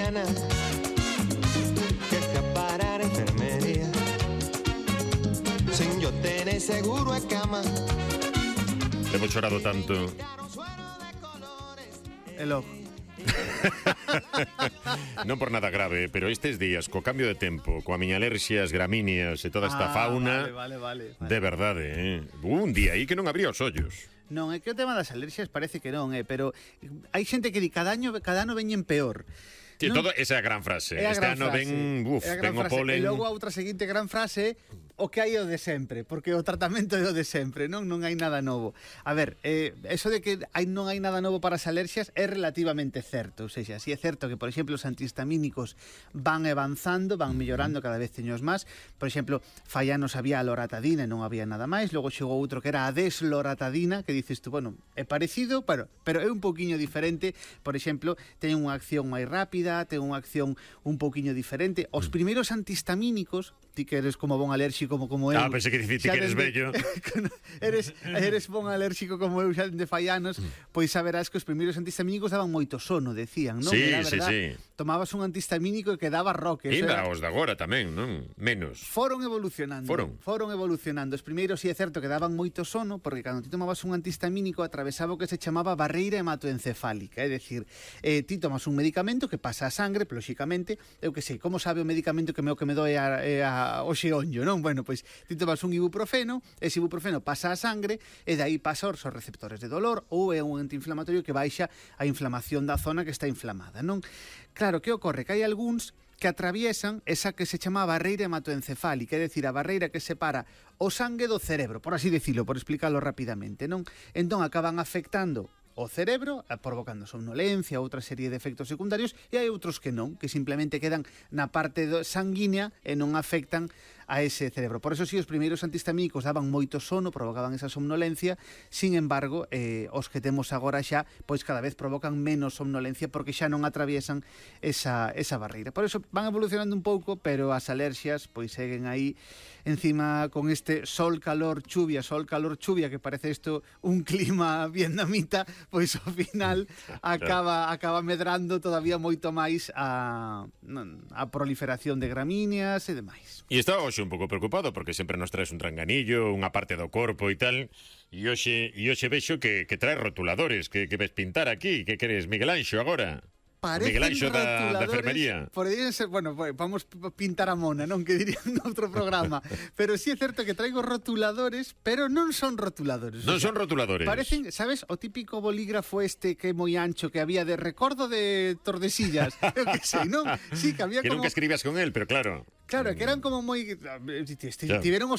mañana que escapar a la enfermería sin yo tener seguro a cama. Hemos chorado tanto. El ojo. Non por nada grave, pero estes días, co cambio de tempo, coa miña alerxia, as gramíneas e toda esta fauna, vale. de verdade, un día aí que non abría os ollos. Non, é que o tema das alerxias parece que non, pero hai xente que di cada ano veñen peor. Sí, Non? todo esa é a gran frase. É a Este gran ano frase. ven o polen. E logo a outra seguinte gran frase, o que hai é o de sempre, porque o tratamento é o de sempre, non hai nada novo. A ver, eso de que non hai nada novo para as alerxias é relativamente certo, ou seja, si é certo que, por exemplo, os antihistamínicos van avanzando, van mellorando, cada vez teños máis. Por exemplo, fai anos había a loratadina e non había nada máis, logo chegou outro que era a desloratadina, que dices tú, bueno, é parecido, pero é un pouquiño diferente. Por exemplo, ten unha acción máis rápida, ten unha acción un pouquiño diferente. Os primeiros antihistamínicos, ti que eres como bon alérxico como eu. Pensei que diciste que eres bello. eres bon alérxico como eu xa de fai anos, pois saberás que os primeiros antihistamínicos daban moito sono, decían, non? Sí, sí. Tomabas un antihistamínico e quedaba roque. Ainda os de agora tamén, non? Menos. Foron evolucionando. Os primeiros, si é certo, que daban moito sono, porque cando ti tomabas un antihistamínico atravesaba o que se chamaba barreira hematoencefálica, é dicir, ti tomas un medicamento que pasa a sangre, lóxicamente, eu que sei, como sabe o medicamento que me doe o xeonllo, non? Bueno, pois ti tomas un ibuprofeno, ese ibuprofeno pasa a sangre e dai pasa aos receptores de dolor, ou é un antiinflamatorio que baixa a inflamación da zona que está inflamada, non? Claro, que ocorre? Que hai algúns que atraviesan esa que se chama barreira hematoencefálica, é dicir, a barreira que separa o sangue do cerebro, por así decirlo, por explicarlo rapidamente, non? Entón acaban afectando o cerebro, provocando somnolencia, outra serie de efectos secundarios, e hai outros que non, que simplemente quedan na parte sanguínea e non afectan a ese cerebro. Por eso si os primeiros antihistamínicos daban moito sono, provocaban esa somnolencia, sin embargo, os que temos agora xa, pois cada vez provocan menos somnolencia porque xa non atraviesan esa barreira. Por eso van evolucionando un pouco, pero as alerxias pois seguen aí encima con este sol, calor, chuvia, que parece isto un clima vietnamita, pois ao final acaba medrando todavía moito máis a proliferación de gramíneas e demais. E está hoxe un pouco preocupado porque sempre nos traes un tranganillo, unha parte do corpo e tal, e hoxe vexo que traes rotuladores, que ves pintar aquí, que queres Miguel Anxo agora? Miguel Anxo da enfermería. Poderían ser, bueno, vamos pintar a mona, non? Que dirían noutro programa. Pero sí é certo que traigo rotuladores, pero non son rotuladores. Non son rotuladores. Parecen, sabes, o típico bolígrafo este que é moi ancho que había de recordo de Tordesillas. Eu que sei, non? Sí, que había que como... nunca escribías con él, pero claro. Claro, que eran como moi... Tiveron o seu